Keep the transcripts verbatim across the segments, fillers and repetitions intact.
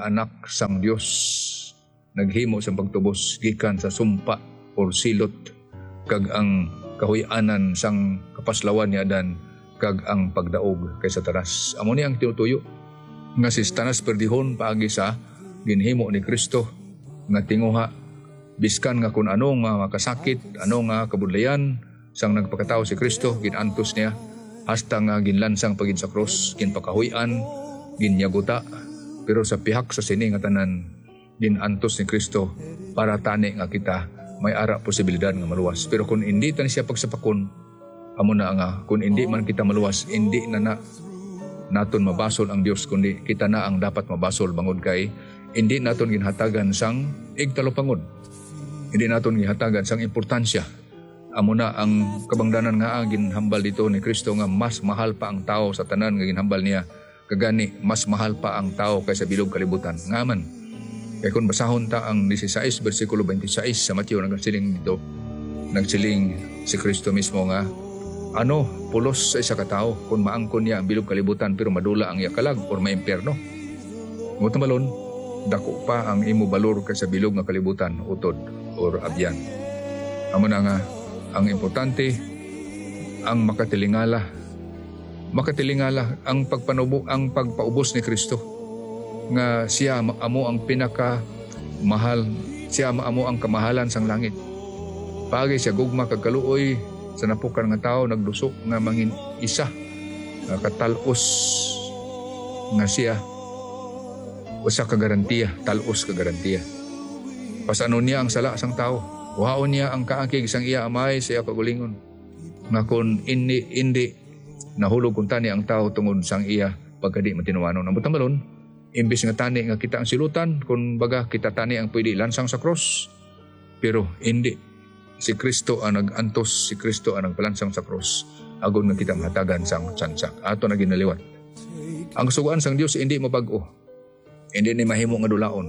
Anak sang Dios, naghimo sang pagtubos gikan sa sumpa or silot, kag ang kahuy-anan sang kapaslawan ni Adan, kag ang pagdaog kay Satanas. Amo ni ang tinutuyo nga si Satanas perdihon paagi sa ginhimo ni Cristo nga tinguha, biskan nga kun ano nga makasakit, ano nga kabudlayan, sang nagpakatawo si Cristo, gin-antos niya, hasta nga ginlansang pa gid sa krus, ginpakahuy-an, ginyaguta. Pero sa pihak sa sini nga tanan, gin-antos ni Cristo para tani nga kita may ara posibilidad nga maluwas. Pero kun indi ta ni siya pagsapakon, amo na nga, kun indi man kita maluwas, indi na, na naton mabasol ang Dios, kundi kita na ang dapat mabasol, bangod kay indi naton ginhatagan sang igtalupangod, indi naton ginhatagan sang importansya. Amo na ang kabangdanan nga ang ginhambal dito ni Cristo, nga mas mahal pa ang tawo sa tanan nga ginhambal niya, kag gani mas mahal pa ang tawo kaysa bilog kalibutan. Nga man, kay kun basahon ta ang dieciséis, bersikulo twenty-six sa Mateo, nagsiling dito, nagsiling si Cristo mismo nga, ano pulos sa isa ka tawo kun maangkon niya ang bilog kalibutan pero madula ang iya kalag or maimpyerno? Mo tambalon, dako pa ang imo balor kaysa bilog nga kalibutan, utod or abyan. Amo na nga, ang importante, ang makatilingala. Makatilingala ang pagpanubo, ang pagpaubos ni Cristo, nga siya ma-, amo ang pinaka mahal, siya ma-, amo ang kamahalan sang langit. Paagi sa gugma kag kaluoy sa napukan nga tawo, nagduso nga mangin isa nga katal-os nga siya, usa ka garantiya, tal-os ka garantiya. Pasanon niya ang sala sang tawo. Kuhaon niya ang kaakig sang iya Amay sa iya kaugalingon, nga kon indi, indi, nahulog kuntani ang tawo tungod sang iya pagkadi matinuanon. Ang butambalon, imbis nga tani nga kita ang silutan, kun baga kita tani ang pwede lansang sa krus, pero indi. Si Cristo ang nag-antos, si Cristo ang nagpalansang sa krus, agod nga kita mahatagan sang tsansa. Ato na ginaliwat. Ang Sugoan sang Dios indi mabag-o. Indi ni mahimo nga dulaon,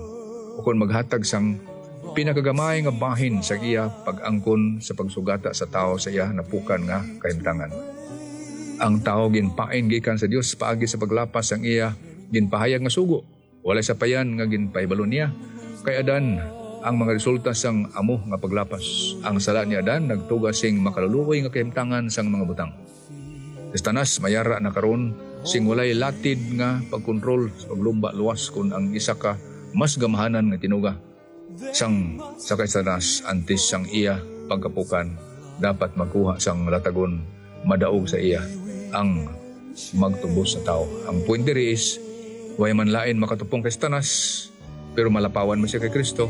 ukon maghatag sang pinakagamay nga bahin sa iya pag-angkon sa pagsugata sa tawo sa iya napukan nga kahimtangan. Ang tawo ginpain gikan sa Dios paagi sa paglapas sang iya ginpahayag nga sugo. Walay sapayan nga ginpahibalo niya kay Adan ang mga resulta sang amo nga paglapas. Ang sala ni Adan nagtuga sing makaluluoy nga kahimtangan sang mga butang. Si Satanas mayara na karon sing walay latid nga pagkontrol sa paglumba luwas kon ang isa ka mas gamhanan nga tinuga sang sa kay Satanas antes sang iya pagkapukan dapat magkuha sang latagon madaog sa iya ang magtubos sa tawo. Ang point diri is, way man lain makatupong kay Satanas, pero malapawan man siya kay Cristo.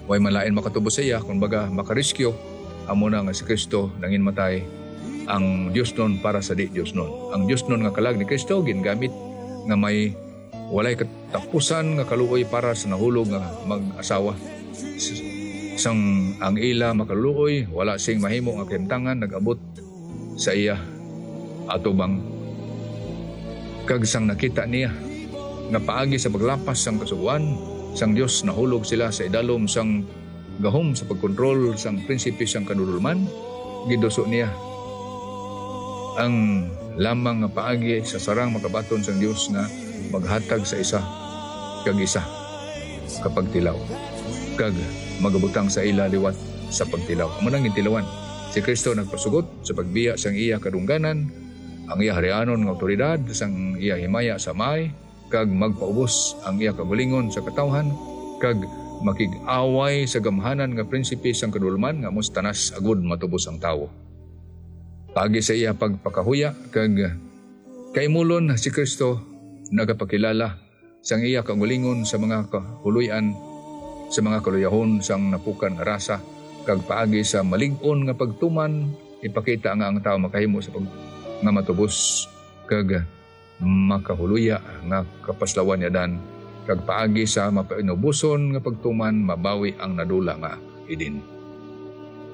Way man lain makatubos sa iya, kun baga, makarescue, amo na nga si Cristo nanginmatay, ang diosnon para sa di-diosnon. Ang diosnon nga kalag ni Cristo gingamit nga may walay katapusan nga kaluoy para sa nahulog nga mag-asawa. S-, sang ang ila makaluoy, wala sing mahimo nga kahimtangan nag-abot sa iya atubang. Kag sang nakita niya nga paagi sa paglapas sang Kasugoan sang Dios nahulog sila sa idalom sang gahom sa pagkontrol sang prinsipe sang kadulolman, giduso niya ang lamang nga paagi sa sarang makabaton sang Dios nga maghatag sa isa kag isa ka pagtilaw, kag magabutang sa ila liwat sa pagtilaw. Amo nang gintilawan. Si Cristo nagpasugot sa pagbiya sang iya kadungganan, ang iya harianon nga awtoridad, sang iya himaya sa Amay, kag magpaubos ang iya kaugalingon sa katawhan, kag makig-away sa gamhanan nga prinsipe sang kadulman nga amo si Satanas, agud matubos ang tawo. Paagi sa iya pagpakahuya kag kaimulon, si Cristo nagapakilala sang iya kaugalingon sa mga kahuloy-an, sa mga kaluyahon sang napukan nga rasa, kag paagi sa malig-on nga pagtuman, ipakita nga ang tawo makahimo sa pag-, nga matubos kag makahuloya nga kapaslawan ni Adan, kag paagi sa mapainuboson nga pagtuman mabawi ang nadula nga Eden.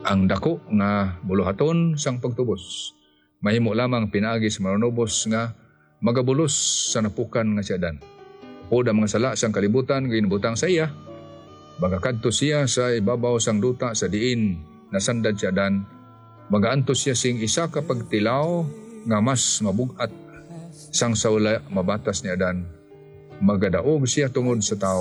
Ang daku nga buluhaton sang pagtubos mahimo lamang pinaagi sa manunubos nga magabulos sa napukan nga si Adan. Upod ang mga sala sang kalibutan nga ginbutang sa iya, magakadto siya sa ibabaw sang duta sa diin nasandad si Adan. Magaantos siya sing isa ka pagtilaw nga mas mabug-at sang sa wala mabatas ni Adan. Magadaog siya tungod sa tawo.